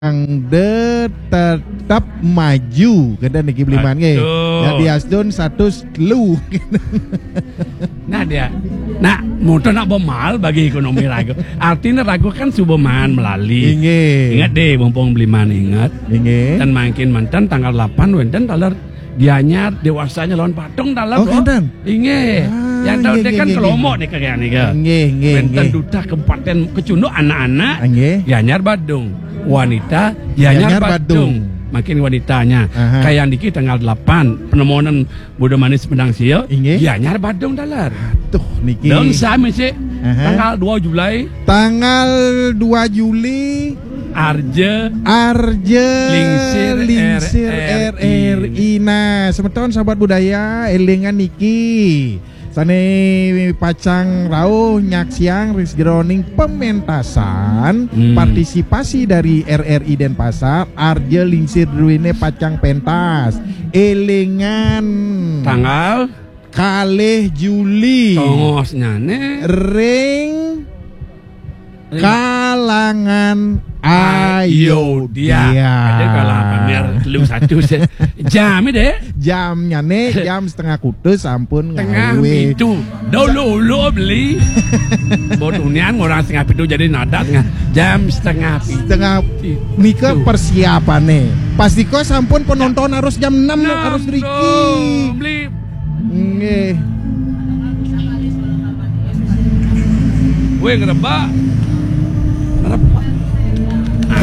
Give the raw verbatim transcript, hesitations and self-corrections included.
Anda tetap maju, kata niki Bliman nggih. Betul. Ya, diastun satus telu. Nah, dia. Nah, mutu nak bemal bagi ekonomi raga. Artinya raga kan suba maan melali. Inggih. Ingat deh, mumpung Bliman ingat. Inggih. Dan mangkin manten tanggal delapan wenten taler Gianyar dewasanya lawan Badung taler, Oh, Bro. Kenten. Inggih. Ah, yang tahu inggih, deh kan inggih, kelompok inggih. Nih kalian nih, kan? Inggih, inggih, wenten inggih. Duta Kabupaten Kecunduk anak-anak. Inggih. Gianyar Badung. Wanita Gianyar Badung. Makin wanitanya. Aha. Kayak niki tanggal delapan penemonan Buda Manis Menang Sia. Inggih. Gianyar Badung taler. Tuh niki. Dong sami sih. Aha. Tanggal dua Juli. Tanggal dua Juli. Arja. Arja. Lingsir. Lingsir R R I. R R I. Nah, semeton sahabat budaya, elingan niki. Sane pacang rauh nyaksiang ring sajeroning pementasan, hmm, partisipasi dari R R I Denpasar, Arja Lingsir druene pacang pentas. Elingan. Tanggal? Kalih Juli. Tongosnyane. Ring Kalangan Ayodya. Ayodya. Ada kalangan pamer telu satu se-, jam deh. Jamnya nih, jam setengah kutus sampun tengah ngawe. Pitu. Dulu-dulu beli. Buat unian orang setengah pitu jadi nadat tengah. Jam setengah pitu. Setengah nika persiapane. Pasti kok sampun penonton harus jam enam harus riki. Beli. Nggih. Weh, ngerebak.